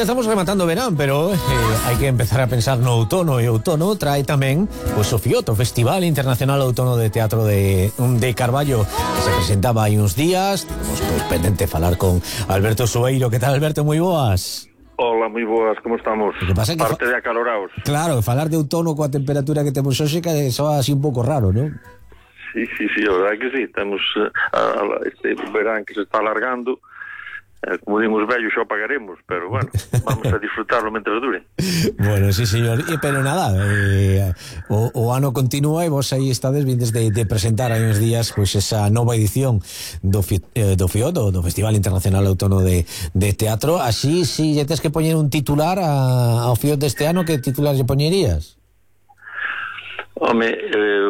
Xa estamos rematando o verán, pero hai que empezar a pensar no outono, e o outono trae tamén pois o FIOT, o Festival Internacional Outono de Teatro de Carballo, que se presentaba hai uns días. Temos pois pendente falar con Alberto Soeiro. Que tal, Alberto? Moi boas. Hola, moi boas, como estamos? Que pasa que parte de acaloraos. Claro, falar de outono coa temperatura que temos hoxe que soa así un pouco raro, non? Sí, a verdade que sí, temos este verán que se está alargando. Como din os vellos, xa pagaremos, pero bueno, vamos a disfrutarlo mentre dure. Bueno, sí, señor, pero nada, o ano continúa e vos aí estades vindes de presentar hai uns días pois esa nova edición do FIOT, do Festival Internacional Outono de Teatro. Así, si lle tes que poñer un titular ao FIOT deste ano, que titular lle poñerías? Home,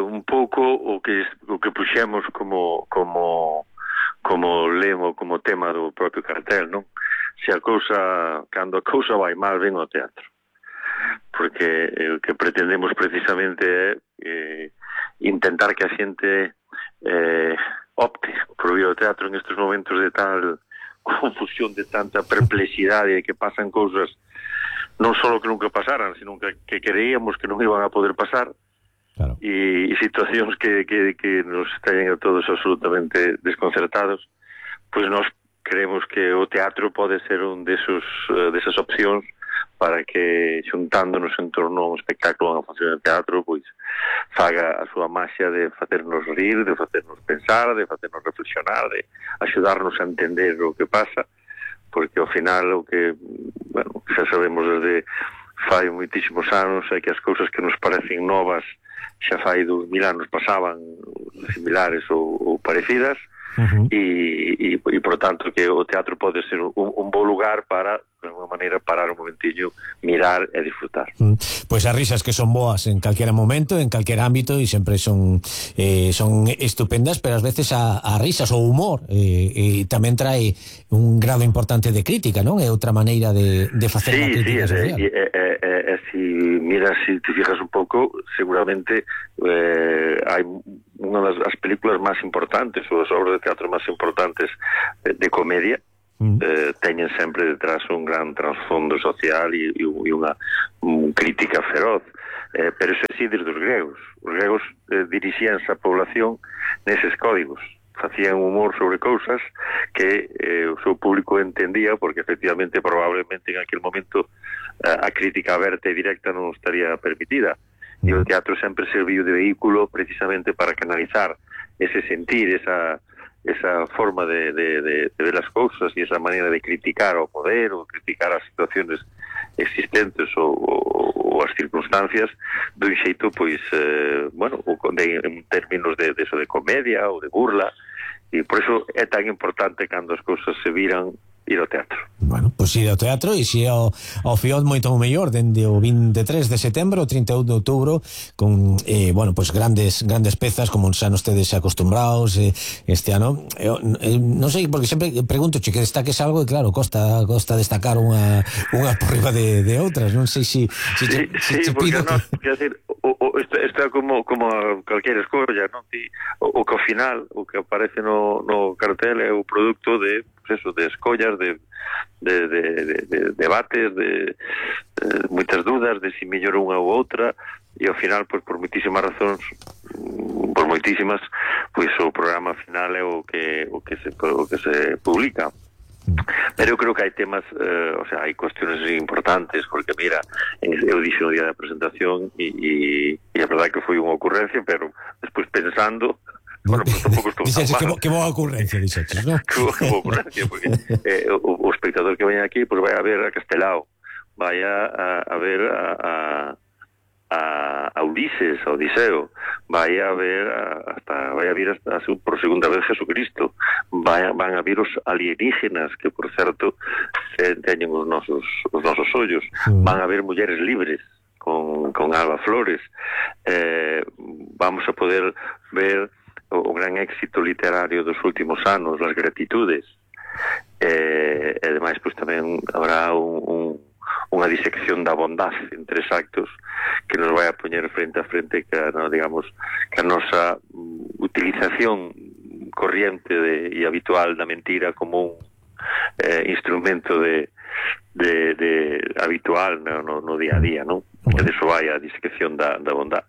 un pouco o que puxemos como lema, como tema do propio cartel, non? Cando a cousa vai mal, ven ao teatro. Porque o que pretendemos precisamente é intentar que a xente opte por ir ao teatro en estes momentos de tal confusión, de tanta perplexidade, de que pasan cousas non só que nunca pasaran, sino que creíamos que non iban a poder pasar. Claro. E situacións que nos teñen a todos absolutamente desconcertados. Pois nós creemos que o teatro pode ser un desas opcións para que, xuntándonos en torno a un espectáculo, a unha función de teatro, pois faga a súa maxia de facernos rir, de facernos pensar, de facernos reflexionar, de axudarnos a entender o que pasa, porque ao final o que, bueno, xa sabemos desde fai moitísimos anos é que as cousas que nos parecen novas xa fai 2000 anos pasaban similares ou parecidas. E por tanto que o teatro pode ser un bo lugar para, de alguma maneira, parar un momentiño, mirar e disfrutar. Pois as risas que son boas en calquera momento, en calquer ámbito, e sempre son estupendas, pero ás veces a risas, o humor tamén trae un grado importante de crítica, non? É outra maneira de facer a crítica social. Si te fijas un pouco, seguramente hai unha das películas máis importantes, ou das obras de teatro máis importantes de comedia, teñen sempre detrás un gran trasfondo social e unha crítica feroz, pero iso sí desde os gregos. Os gregos dirixíanse a población neses códigos, facían humor sobre cousas que o seu público entendía, porque efectivamente probablemente en aquel momento a crítica aberta e directa non estaría permitida, e o teatro sempre serviu de vehículo precisamente para canalizar ese sentir, esa forma de ver as cousas e esa maneira de criticar o poder ou criticar as situaciones existentes ou as circunstancias dun xeito, pois, en términos de eso de comedia ou de burla, e por iso é tan importante cando as cousas se viran ir ao teatro. Bueno, pois ir ao teatro e si ao FIOT moito mellor, dende o 23 de setembro ao 31 de outubro, con pois grandes pezas como xa nos tedes acostumbrados este ano. Non sei, porque sempre pregunto que destaques algo e claro, costa destacar unha por riba de outras. Non sei se porque quer decir, isto é como calquera escolla, non? O que ao final, o que aparece no cartel é o produto de escollas, de debates, de moitas dudas de si mellor unha ou outra, e ao final, pois, por moitísimas razóns, pois o programa final é o que se publica. Pero eu creo que hai temas, hai cuestiones importantes, porque mira, eu dixo no día da presentación e a verdade que foi unha ocurrencia, pero despois pensando, bueno, pues tampouco estou tan mal. Que boa ocurrencia, dixetes, non? Que boa ocurrencia, porque o espectador que veña aquí, pues vai a ver a Castelao, vai a ver a Ulises, a Odiseo, vai a ver por segunda vez Jesucristo, van a ver os alienígenas, que por certo teñen os nosos ollos, van a ver Mulleres Libres con Alba Flores, vamos a poder ver o gran éxito literario dos últimos anos, Las Gratitudes, e ademais pois tamén habrá unha disección da bondade en 3 actos que nos vai a poñer frente a frente que a nosa utilización corriente e habitual da mentira como un instrumento de habitual no día a día, non? Que deso vai a discreción da bondade.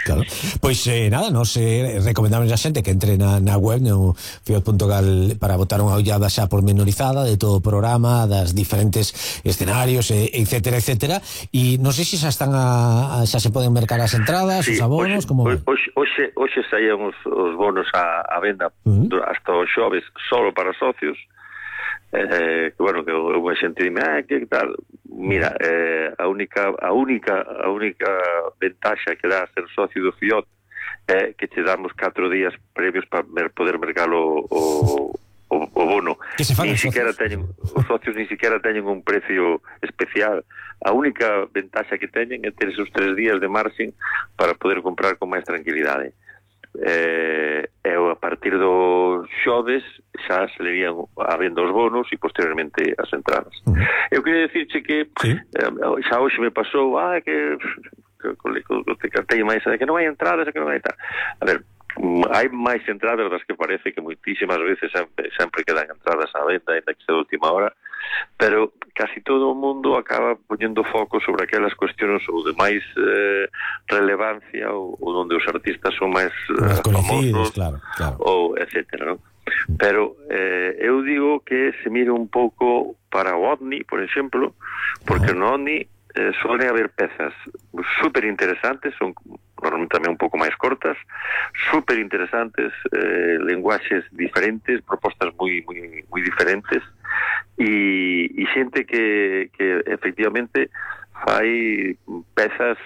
Claro. Pois nada, nos recomendamos a xente que entre na web no fiat.gal para botar unha ollada xa pormenorizada de todo o programa, das diferentes escenarios, etcétera, e non sei se xa están xa se poden mercar as entradas, os abonos, como hoxe saían os bonos a venda hasta os xoves solo para socios. Que bueno, que unha xente dime, que tal? Mira, a única ventaxa que dá ser socio do Fiat é que te damos 4 días previos para poder mercar o bono. Ni siquiera os socios ni siquiera teñen un precio especial. A única ventaxa que teñen é ter esos 3 días de marxen para poder comprar con máis tranquilidade. A partir dos xoves xa se lerían a venda os bonos e posteriormente as entradas. Eu queria dicirche que xa hoxe me pasou que cartei máis que non hai entradas, que non hai tal. A ver, hai máis entradas das que parece, que moitísimas veces sempre quedan entradas á venda, ainda que sea de última hora, pero casi todo o mundo acaba poñendo foco sobre aquelas cuestións ou de máis relevancia ou onde os artistas son máis famosos, claro. Ou etcétera, non? Pero eu digo que se mire un pouco para o OVNI, por exemplo, porque no OVNI suelen haber pezas super interesantes, son normalmente tamén un pouco máis cortas, super interesantes, lenguaxes diferentes, propostas moi diferentes, e xente que efectivamente fai pezas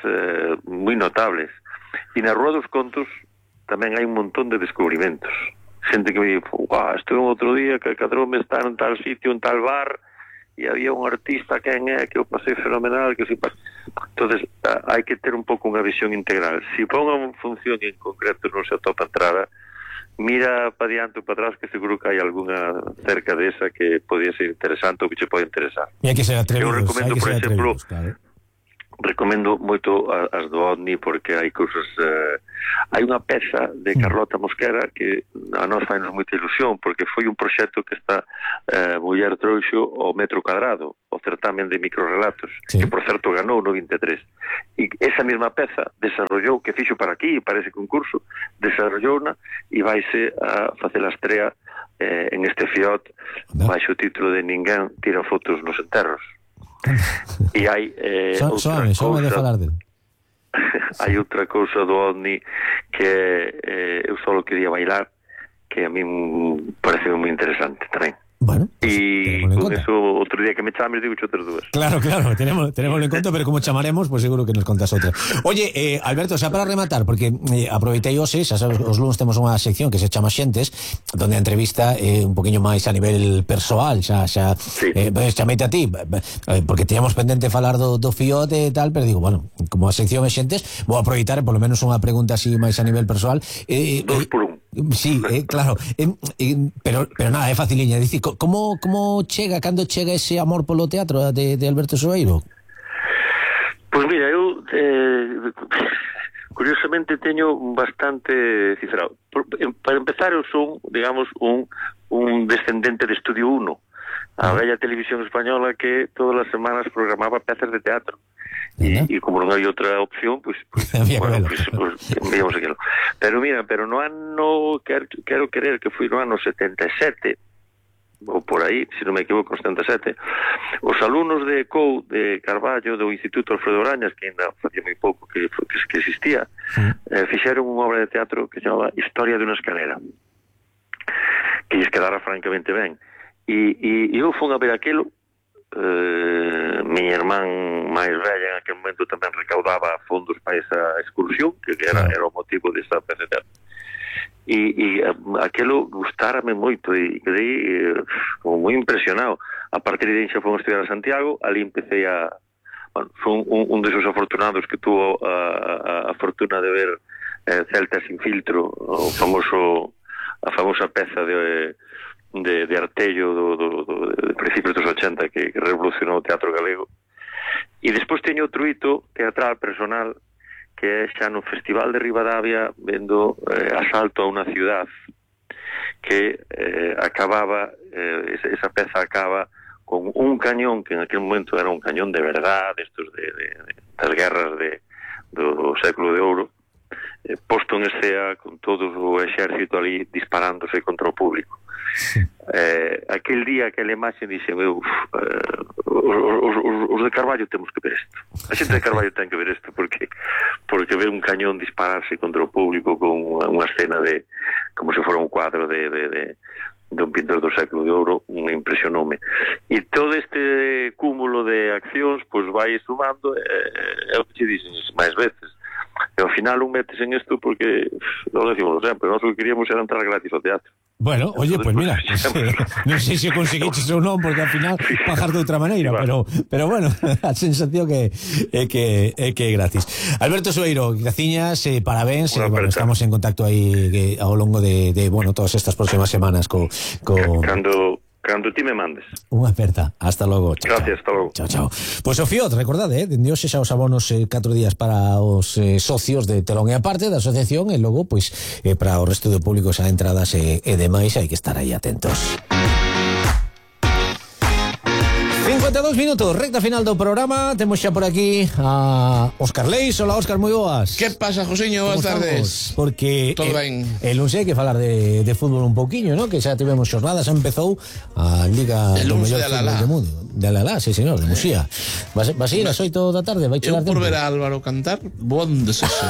moi notables. E na Rúa dos Contos tamén hai un montón de descubrimentos. Xente que me dice, estuve un outro día que cadroume estar en tal sitio, en tal bar, e había un artista que eu pasei fenomenal, que entonces hai que ter un pouco unha visión integral. Se ponga unha función en concreto non se atopa entrada, mira para diante ou para atrás, que seguro que hai alguna cerca desa que podía ser interesante ou que che pode interesar. E hai que ser atrevidos. Eu recomendo, por exemplo, recomendo moito as do OVNI, porque hai cousas hai unha peza de Carlota Mosquera que a nós fainos moita ilusión, porque foi un proxecto que esta muller trouxo ao metro cuadrado, o certamen de microrelatos, que por certo ganou no 23, e esa mesma peza desarrollou, que fixo para aquí, para ese concurso, desarrollouna e vaise a facer a estrea en este Fiat baixo o título de Ninguén tira fotos nos enterros. E hai outra cousa hai outra cousa do OVNI que eu só quería bailar, que a mí parece moi interesante tamén. Bueno, e con eso outro día que me chames digo outras dúas. Claro, tenemos en conta, pero como chamaremos, pues seguro que nos contas outra. Oye, Alberto, xa para rematar, porque aproveitei hoxe, xa sabes, os lunes temos unha sección que se chama Xentes, donde a entrevista un poquinho máis a nivel persoal, xa chameite a ti, porque teníamos pendente falar do Fiat e tal, pero digo, bueno, como a sección é Xentes, vou aproveitar por lo menos unha pregunta así máis a nivel persoal. 2 por 1. Sí, claro, pero nada, é faciliña. Dicir, como cando chega ese amor polo teatro de Alberto Soeiro? Pois mira, eu curiosamente teño bastante cifrado. Para empezar, eu son, digamos, un descendente de Estudio 1, a bella televisión española que todas as semanas programaba pezas de teatro. E como non hai outra opción, pues veíamos aquilo. Pero mira, no ano, quero creer que foi no ano 77, ou por aí, se non me equivoco, 77, os alumnos de COU de Carballo, do Instituto Alfredo Brañas, que ainda facía moi pouco que existía, fixeron unha obra de teatro que se chamaba Historia de unha escalera, que lles quedara francamente ben. E eu fui a ver aquilo. Miña irmán máis velha en aquel momento tamén recaudaba fondos para esa excursión, que era o motivo desa peza de teatro, e aquilo gustárame moito e quedei como moi impresionado. A partir de aí xa fomos a estudiar a Santiago, ali empecé fue un desos afortunados que tuvo a fortuna de ver Celta sin filtro, a famosa peza de Artello de principios dos 80 que revolucionou o teatro galego. E despois teño outro hito teatral personal, que é xa no Festival de Ribadavia, vendo Asalto a unha ciudad, que acababa, esa peza acaba con un cañón que en aquel momento era un cañón de verdad, estos das guerras do século de ouro, posto en escena con todo o exército ali disparándose contra o público. Aquel día, aquela imaxe, dixen os de Carballo temos que ver isto, a xente de Carballo ten que ver isto, porque ver un cañón dispararse contra o público con unha escena de como se fora un cuadro de un pintor do século de ouro, me impresionoume. E todo este cúmulo de accións pois vai sumando, é o que te dicen máis veces, e ao final un metes en isto porque non decimos sempre, nós o que queríamos era entrar gratis ao teatro. Bueno, oye, pues mira, non sei se conseguiches ou non, porque ao final pagar de outra maneira, pero bueno, a sensación que é gratis. Alberto Sueiro, graciñas, parabéns, bueno, estamos en contacto aí ao longo de bueno, todas estas próximas semanas Cando ti me mandes. Unha aperta, hasta logo. Gracias, hasta logo. Chao. Pois o FIOT, recordade, dende hoxe xa os abonos 4 días para os socios de Telón e Aparte da asociación, e logo, pois, para o resto do público xa entradas e demais, hai que estar aí atentos. 52 minutos, recta final do programa. Temos xa por aquí a Óscar Leis. Hola, Óscar, moi boas. Que pasa, Josiño? Boas tardes. Porque todo ben. El lunes hai que falar de fútbol un pouquiño, ¿no? Que xa tivemos xornadas, empezou a Liga do mellor fútbol do mundo. De Alalá, sí, señor, de Muxía. Vas ir a 8 da tarde, vai chegar tempo. Eu por ver a Álvaro cantar, bon desexo.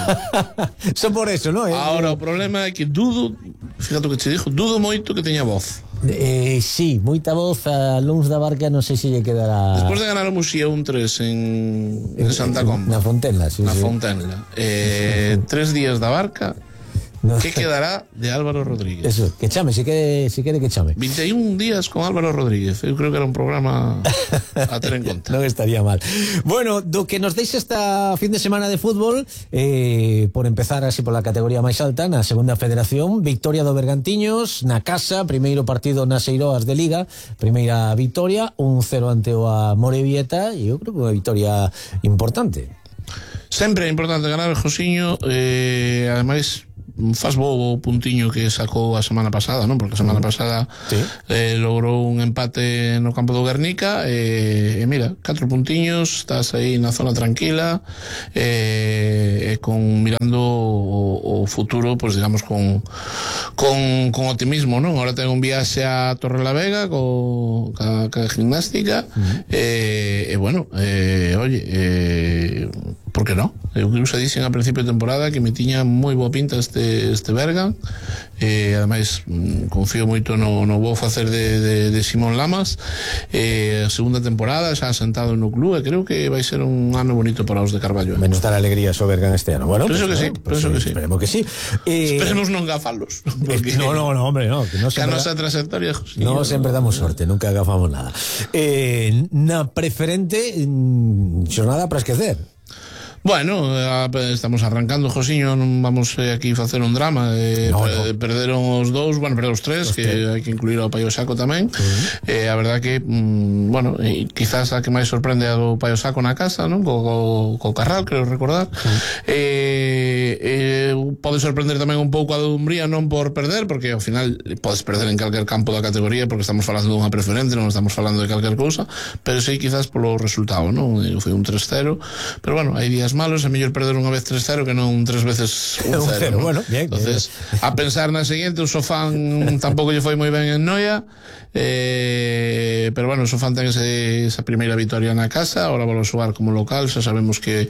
Só por eso, ¿no? Ahora, o problema é que dudo, fíjate o que te dixo, dudo moito que teña voz. Sí, moita voz a luns da Barca, non sei se lle quedará. Despois de ganar o Muxía 1-3 en Santa Comba. Na Fontenla, sí. Na Fontenla. 3 días da Barca. No. ¿Qué quedará de Álvaro Rodríguez? Eso, que chame, si quere que chame. 21 días con Álvaro Rodríguez. Eu creo que era un programa a ter en conta. Non estaría mal. Bueno, do que nos deixa esta fin de semana de fútbol, por empezar así pola categoría máis alta, na segunda federación, victoria do Bergantiños na casa, primeiro partido nas Eiroas de Liga, primeira victoria, 1-0 ante o Amorebieta, e eu creo que unha victoria importante. Sempre é importante ganar o Josiño, ademais faz bo o puntiño que sacou a semana pasada, non? Porque a semana pasada sí. Logrou un empate no campo do Guernica, e mira, 4 puntiños, estás aí na zona tranquila, con mirando o futuro, pues digamos con optimismo, non? Ahora ten un viaxe a Torrelavega ca gimnástica, e bueno, oye, por que non? Eu que xa dixen a principio de temporada que me tiña moi boa pinta este Bergan, ademais confío moito no vou facer de Simón Lamas, a segunda temporada xa sentado no club, e creo que vai ser un ano bonito para os de Carballo. Menos dar alegría ao Bergan este ano. Bueno, penso que sí, esperemos que sí. Esperemos non gafalos. No, hombre, no, que no sempre, a nosa trayectoria, no sempre damos sorte, nunca agafamos nada. Na preferente, xornada para esquecer. Bueno, estamos arrancando, Josiño, non vamos aquí facer un drama, perderon os dous, bueno, perderon os tres, que hai que incluir ao Paio Saco tamén, a verdad que, bueno, quizás a que máis sorprende a do Paio Saco na casa, non? Co Carral, creo recordar, pode sorprender tamén un pouco a do Umbría, non por perder, porque ao final podes perder en calquer campo da categoría, porque estamos falando dunha preferente, non estamos falando de calquer cousa, pero sí quizás polo resultado, non? Foi un 3-0, pero bueno, hai días malos, é mellor perder unha vez 3-0 que non 3 veces 1-0, ¿no? Bueno, bien. Entonces, a pensar na seguinte, o Sofán tampouco lle foi moi ben en Noia, pero bueno, o Sofán ten esa primeira victoria na casa, ahora vou xogar como local, xa sabemos que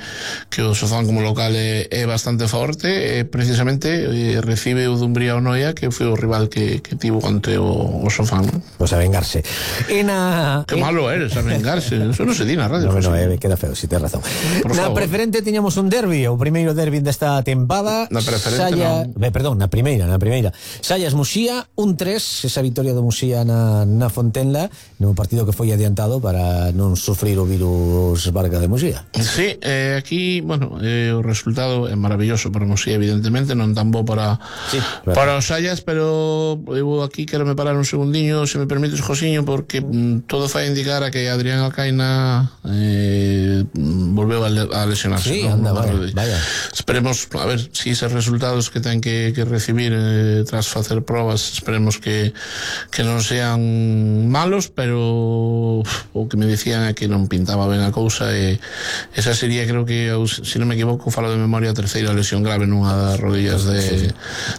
o Sofán como local é bastante forte, precisamente recibe o Dumbría o Noia, que foi o rival que tivo ante o Sofán. Pues a vengarse. Que malo eres, a vengarse, eso non se di na radio. No, queda feo, si tens razón. Na preferente tiñamos un derbi, o primeiro derbi desta tempada. Na preferente perdón, na primeira. Sallas Muxía, 1-3, esa victoria do Muxía na Fontenla, no partido que foi adiantado para non sufrir o virus Barca de Muxía. Sí, aquí, bueno, o resultado é maravilloso para Muxía, evidentemente, non tan bo para os Sallas, pero eu aquí quero me parar un segundiño, se me permites, Josiño, porque todo fai indicar a que Adrián Alcaina volveu a lesionarse. marcha. Sí, anda, vaya. Esperemos, a ver, si esos resultados que ten que recibir tras facer probas, esperemos que non sean malos, pero o que me dicían é que non pintaba ben a cousa, e esa sería, creo que, se non me equivoco, falo de memoria, a terceira lesión grave nunha das rodillas de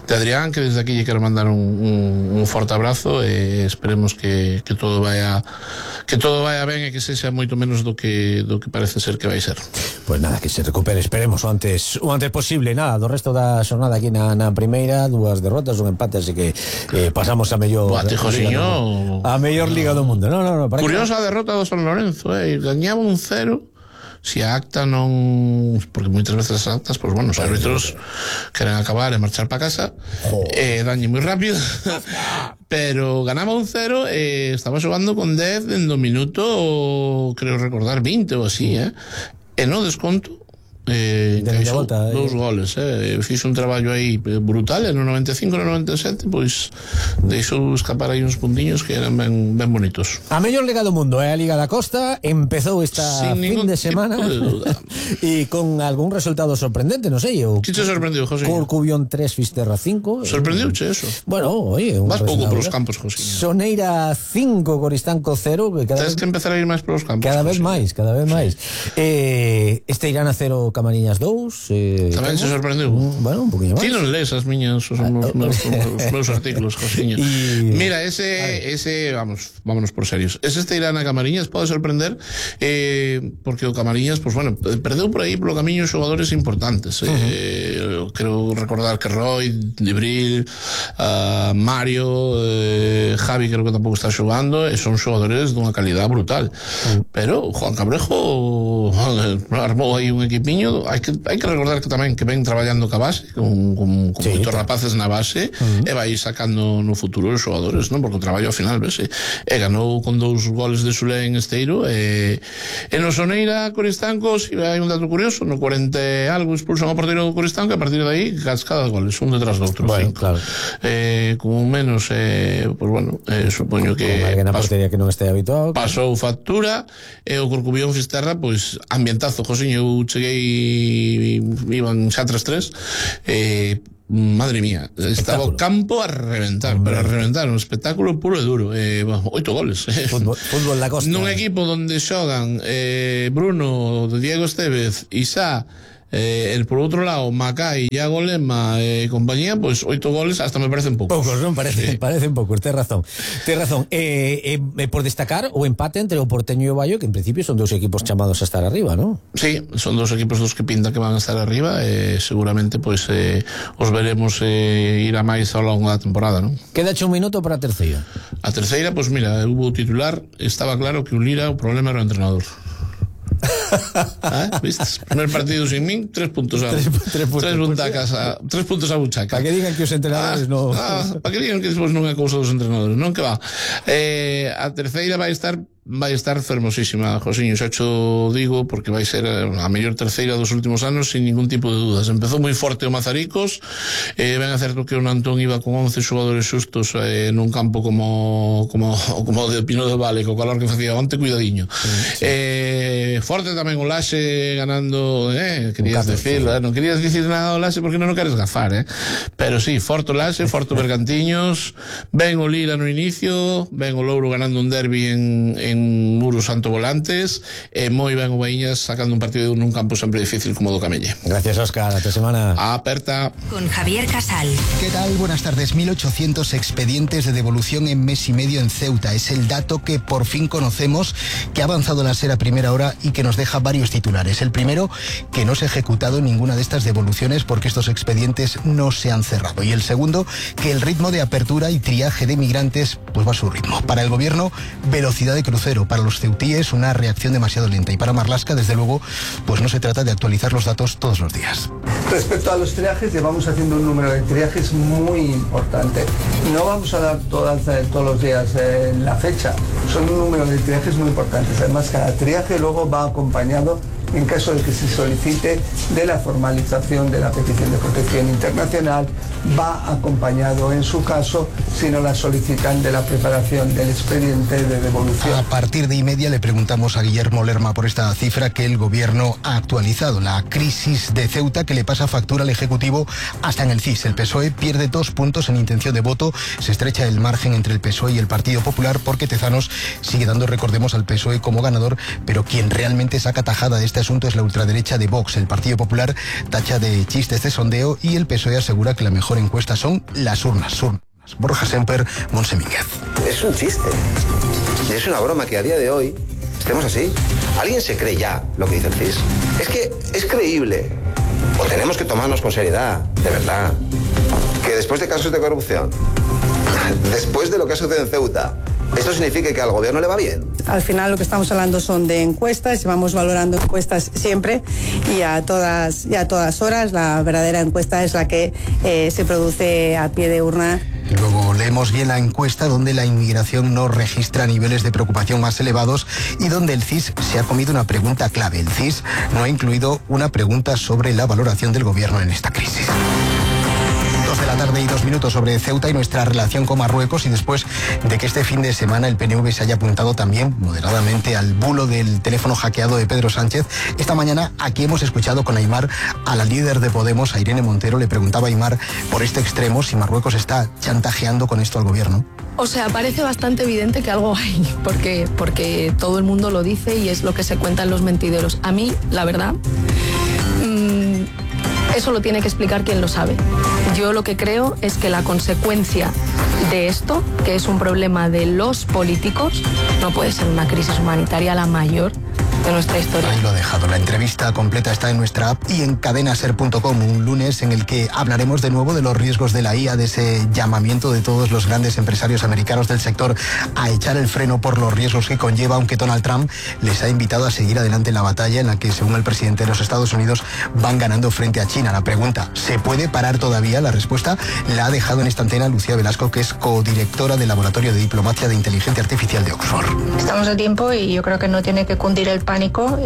Adrián, que desde aquí lle quero mandar un forte abrazo, e esperemos que todo vaya ben, e que sexa moito menos do que parece ser que vai ser. Pois nada, que se recupere, esperemos o antes posible. Nada, do resto da xornada aquí na primeira, 2 derrotas, un empate, así que pasamos a mellor liga do mundo. No, curiosa a derrota do San Lorenzo, gañaba 1-0. Si a acta non... Porque moitas veces as actas, pues bueno, os árbitros queren acabar e marchar para casa, dañe moi rápido, pero ganaba 1-0 e estaba xogando con 10 en do minuto, creo recordar, 20 ou así, e no desconto encaixou 2 goles, fixo un traballo aí brutal, e no 95 e no 97 pois deixou escapar aí uns puntiños que eran ben bonitos. A mellor liga do mundo é a Liga da Costa, empezou esta fin de semana e con algún resultado sorprendente, non sei. Que te sorprendeu, José? Corcubión 3, Fisterra 5. Sorprendeuche eso? Bueno, oye, vas pouco polos campos, José. Soneira 5, Coristanco 0. Tens que empezar a ir máis polos campos. Cada vez máis. Esteirana 0, Camariñas 2. Tamén se sorprendeu. Bueno, un poquinho máis. Ti non lees as miñas, os meus artículos, Josiño. Mira, ese vámonos por serios. Ese Esteirana Camariñas pode sorprender, porque o Camariñas, pues bueno, perdeu por aí polo camiño xogadores importantes. Creo recordar que Roy, Libril, Mario, Javi, creo que tampouco está xogando, e son xogadores dunha calidad brutal. Pero Juan Cabrejo armou aí un equipiño. Hai que recordar que tamén que ven traballando ca base, con moitos rapaces na base, e vai sacando no futuro os xogadores, non? Porque o traballo ao final vese. E ganou con 2 goles de Xulé en Esteiro, e no Soneira Coristanco, si hai un dato curioso, no 40 e algo expulsan ao porteiro do Coristanco, e a partir de aí cascada de goles, un detrás do outro. Bueno, claro. Como menos, pues bueno, supoño que na portería que non este habituado, pasou factura, e o Corcubión Fisterra, pois ambientazo, Josiño. Eu cheguei, iban xa 3-3, madre mía, estaba o campo a reventar, pero a reventar, un espectáculo puro e duro. 8 goles. Fútbol da Costa. Nun equipo donde xogan Bruno, Diego Estevez, Isá, por outro lado Macai, Iago Lema e compañía, pois 8 goles hasta me parecen poucos. Non parecen poucos, tes razón. Por destacar o empate entre o Porteño e o Baio, que en principio son 2 equipos chamados a estar arriba, non? Sí, son 2 equipos dos que pinta que van a estar arriba, e seguramente pois os veremos ir a máis ao longo da temporada, non? Quedache un minuto para a terceira. A terceira, pois mira, hubo titular, estaba claro que o Lira, o problema era o entrenador. ¿Viste? Primer partido sin min, 3 puntos a 3 puntos a buchaca. Para que digan que os entrenadores para que digan que despois non é cousa dos entrenadores, non, que va. A terceira vai estar fermosísima, Josiño, xa cho digo, porque vai ser a mellor terceira dos últimos anos sin ningún tipo de dudas. Empezou moi forte o Mazaricos, ben é certo que o Nantón iba con 11 xogadores xustos nun campo como de Pino de Vale, co calor que facía onte, cuidadiño. Forte tamén o Laxe ganando, querías decir, non querías dicir nada o Laxe porque non o queres gafar, pero sí, forte o Laxe, forte o Bergantiños, ben o Lira no inicio, ben o Louro ganando un derbi en Muros Santo Volantes, e moi ben o Baíñas sacando un partido nun campo sempre difícil como o do Camelle. Gracias, Óscar, ata semana. Aperta. Con Javier Casal. ¿Qué tal? Buenas tardes. 1.800 expedientes de devolución en mes y medio en Ceuta. Es el dato que por fin conocemos, que ha avanzado la SER a primera hora y que nos deja varios titulares. El primero, que no se ha ejecutado ninguna de estas devoluciones porque estos expedientes no se han cerrado. Y el segundo, que el ritmo de apertura y triaje de migrantes pues va a su ritmo. Para el gobierno, velocidad de crucero. Para los ceutíes, una reacción demasiado lenta. Y para Marlaska, desde luego, pues no se trata de actualizar los datos todos los días. Respecto a los triajes, llevamos haciendo un número de triajes muy importante. No vamos a dar todos los días la fecha. Son un número de triajes muy importantes. Además, cada triaje luego va acompañado en caso de que se solicite, de la formalización de la petición de protección internacional, va acompañado en su caso, si no la solicitan, de la preparación del expediente de devolución. A partir de 1:30 le preguntamos a Guillermo Lerma por esta cifra que el gobierno ha actualizado, la crisis de Ceuta que le pasa factura al Ejecutivo hasta en el CIS. El PSOE pierde 2 puntos en intención de voto, se estrecha el margen entre el PSOE y el Partido Popular porque Tezanos sigue dando, recordemos, al PSOE como ganador, pero quien realmente saca tajada de este asunto es la ultraderecha de Vox. El Partido Popular tacha de chistes de sondeo y el PSOE asegura que la mejor encuesta son las urnas. Borja Semper, Montse Mínguez. Es un chiste. Y es una broma que a día de hoy estemos así. ¿Alguien se cree ya lo que dice el CIS? Es que es creíble. O tenemos que tomarnos con seriedad, de verdad, que después de casos de corrupción, después de lo que ha sucedido en Ceuta, ¿esto significa que al gobierno le va bien? Al final lo que estamos hablando son de encuestas, vamos valorando encuestas siempre y a todas horas. La verdadera encuesta es la que se produce a pie de urna. Luego leemos bien la encuesta donde la inmigración no registra niveles de preocupación más elevados y donde el CIS se ha comido una pregunta clave. El CIS no ha incluido una pregunta sobre la valoración del gobierno en esta crisis. 2 de la tarde y 2 minutos sobre Ceuta y nuestra relación con Marruecos, y después de que este fin de semana el PNV se haya apuntado también moderadamente al bulo del teléfono hackeado de Pedro Sánchez. Esta mañana aquí hemos escuchado con Aimar a la líder de Podemos, a Irene Montero. Le preguntaba a Aimar por este extremo si Marruecos está chantajeando con esto al gobierno. O sea, parece bastante evidente que algo hay, porque todo el mundo lo dice y es lo que se cuentan los mentideros. A mí, la verdad, eso lo tiene que explicar quien lo sabe. Yo lo que creo es que la consecuencia de esto, que es un problema de los políticos, no puede ser una crisis humanitaria la mayor de nuestra historia. Ahí lo he dejado. La entrevista completa está en nuestra app y en cadenaser.com, un lunes en el que hablaremos de nuevo de los riesgos de la IA, de ese llamamiento de todos los grandes empresarios americanos del sector a echar el freno por los riesgos que conlleva, aunque Donald Trump les ha invitado a seguir adelante en la batalla en la que, según el presidente de los Estados Unidos, van ganando frente a China. La pregunta, ¿se puede parar todavía? La respuesta la ha dejado en esta antena Lucía Velasco, que es codirectora del Laboratorio de Diplomacia de Inteligencia Artificial de Oxford. Estamos a tiempo y yo creo que no tiene que cundir el pánico.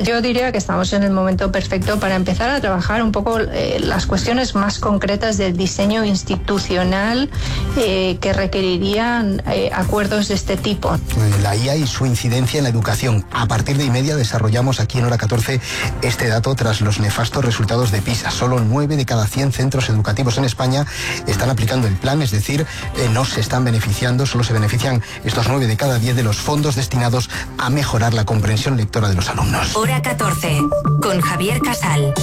Yo diría que estamos en el momento perfecto para empezar a trabajar un poco las cuestiones más concretas del diseño institucional que requerirían acuerdos de este tipo. La IA y su incidencia en la educación. A partir de 1:30 desarrollamos aquí en Hora 14 este dato tras los nefastos resultados de PISA. Solo 9 de cada 100 centros educativos en España están aplicando el plan, es decir, no se están beneficiando, solo se benefician estos 9 de cada 10 de los fondos destinados a mejorar la comprensión lectora de los alumnos. Hora 14, con Javier Casal.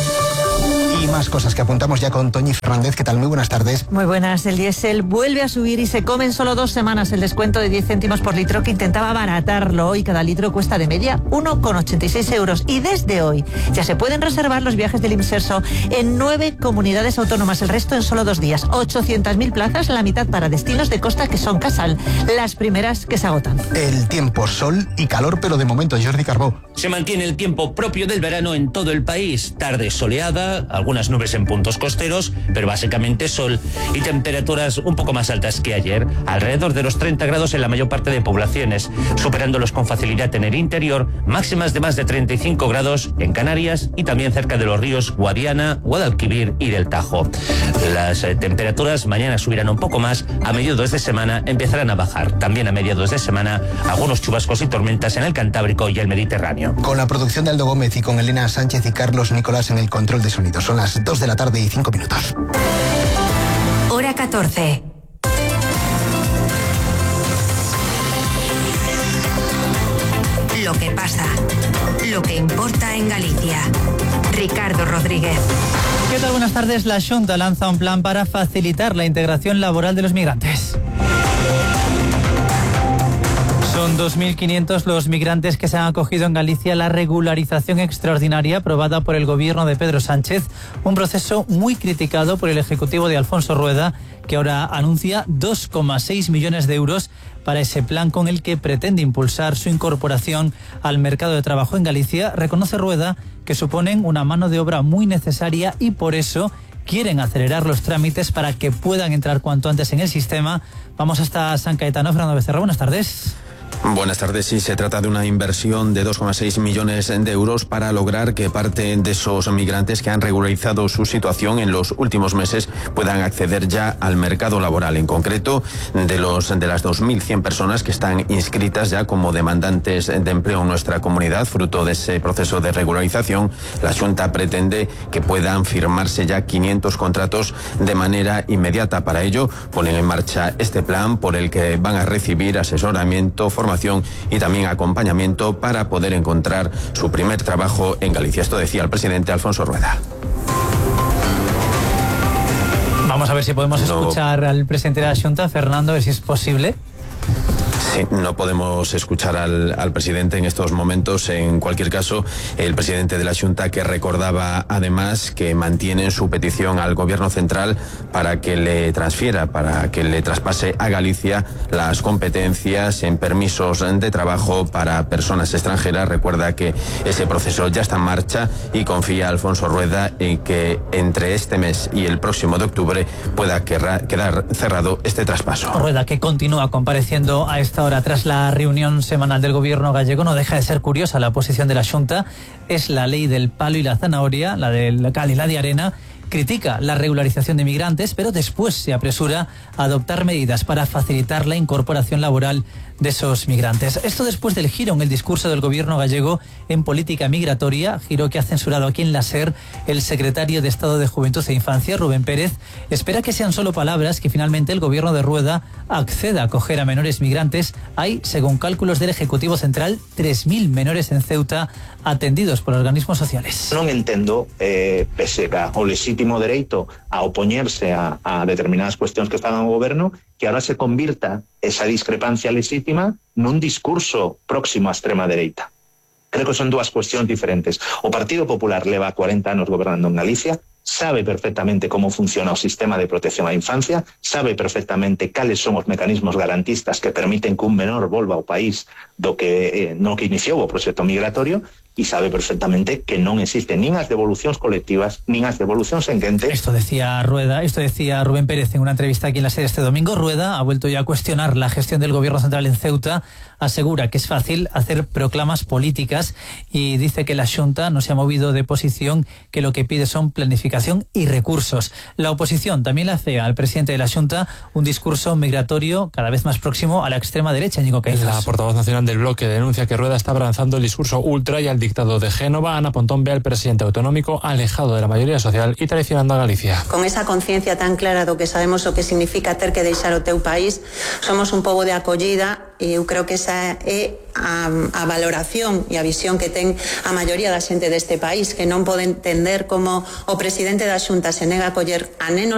Y más cosas que apuntamos ya con Toñi Fernández. ¿Qué tal? Muy buenas tardes. Muy buenas. El diésel vuelve a subir y se come en solo 2 semanas el descuento de 10 céntimos por litro que intentaba abaratarlo. Hoy cada litro cuesta de media 1,86 euros. Y desde hoy ya se pueden reservar los viajes del Imserso en 9 comunidades autónomas. El resto en solo 2 días. 800.000 plazas, la mitad para destinos de costa que son Casal. Las primeras que se agotan. El tiempo, sol y calor, pero de momento, Jordi Carbó. Se mantiene el tiempo propio del verano en todo el país. Tarde soleada, algunas nubes en puntos costeros, pero básicamente sol y temperaturas un poco más altas que ayer, alrededor de los 30 grados en la mayor parte de poblaciones, superándolos con facilidad en el interior, máximas de más de 35 grados en Canarias y también cerca de los ríos Guadiana, Guadalquivir y del Tajo. Las temperaturas mañana subirán un poco más, a mediados de semana empezarán a bajar. También a mediados de semana algunos chubascos y tormentas en el Cantábrico y el Mediterráneo. Con la producción de Aldo Gómez y con Elena Sánchez y Carlos Nicolás en el control de sonido. Son las 2 de la tarde y 5 minutos. Hora 14. Lo que pasa, lo que importa en Galicia. Ricardo Rodríguez. ¿Qué tal? Buenas tardes. La Xunta lanza un plan para facilitar la integración laboral de los migrantes. Son 2.500 los migrantes que se han acogido en Galicia a la regularización extraordinaria aprobada por el gobierno de Pedro Sánchez, un proceso muy criticado por el Ejecutivo de Alfonso Rueda, que ahora anuncia 2,6 millones de euros para ese plan con el que pretende impulsar su incorporación al mercado de trabajo en Galicia. Reconoce Rueda que suponen una mano de obra muy necesaria y por eso quieren acelerar los trámites para que puedan entrar cuanto antes en el sistema. Vamos hasta San Caetano. Fernando Becerra, buenas tardes. Buenas tardes. Sí, se trata de una inversión de 2,6 millones de euros para lograr que parte de esos migrantes que han regularizado su situación en los últimos meses puedan acceder ya al mercado laboral. En concreto, de las 2.100 personas que están inscritas ya como demandantes de empleo en nuestra comunidad, fruto de ese proceso de regularización, la Xunta pretende que puedan firmarse ya 500 contratos de manera inmediata. Para ello, ponen en marcha este plan por el que van a recibir asesoramiento, formación y también acompañamiento para poder encontrar su primer trabajo en Galicia. Esto decía el presidente Alfonso Rueda. Vamos a ver si podemos escuchar al presidente de la Xunta, Fernando, a ver si es posible. Sí, no podemos escuchar al presidente en estos momentos. En cualquier caso, el presidente de la Xunta, que recordaba además que mantiene su petición al Gobierno central para que le transfiera, para que le traspase a Galicia las competencias en permisos de trabajo para personas extranjeras. Recuerda que ese proceso ya está en marcha y confía Alfonso Rueda en que entre este mes y el próximo de octubre pueda quedar cerrado este traspaso. Rueda, que continúa compareciendo a esta hora tras la reunión semanal del gobierno gallego. No deja de ser curiosa la posición de la Xunta. Es la ley del palo y la zanahoria, la del cal y la de arena. Critica la regularización de migrantes, pero después se apresura a adoptar medidas para facilitar la incorporación laboral de esos migrantes. Esto después del giro en el discurso del gobierno gallego en política migratoria, giro que ha censurado aquí en la SER el secretario de Estado de Juventud e Infancia, Rubén Pérez. Espera que sean solo palabras, que finalmente el gobierno de Rueda acceda a acoger a menores migrantes. Hay, según cálculos del Ejecutivo Central, 3.000 menores en Ceuta atendidos por organismos sociales. Non entendo, pese ao legítimo dereito a opoñerse a determinadas cuestións que están ao goberno, que ahora se convirta esa discrepancia legítima nun discurso próximo á extrema dereita. Creo que son dúas cuestións diferentes. O Partido Popular leva 40 anos gobernando en Galicia, sabe perfectamente como funciona o sistema de protección á infancia, sabe perfectamente cales son os mecanismos garantistas que permiten que un menor volva ao país do que no que iniciou o proxecto migratorio, y sabe perfectamente que non existen nin as devolucións colectivas nin as devolucións en quente. Esto decía Rubén Pérez en una entrevista aquí en la SER este domingo. Rueda ha vuelto ya a cuestionar la gestión del gobierno central en Ceuta, asegura que es fácil hacer proclamas políticas y dice que la Xunta no se ha movido de posición, que lo que pide son planificación y recursos. La oposición también le hace al presidente de la Xunta un discurso migratorio cada vez más próximo a la extrema derecha, Ñigo Caizas. La portavoz nacional del bloque denuncia que Rueda está abrazando el discurso ultra y al dictado de Génova. Ana Pontón ve al presidente autonómico alejado de la mayoría social y traicionando a Galicia. Con esa conciencia tan clara do que sabemos o que significa ter que deixar o teu país, somos un pobo de acollida e eu creo que esa é a valoración e a visión que ten a maioría da xente deste país, que non pode entender como o presidente da Xunta se nega a acoller a nenos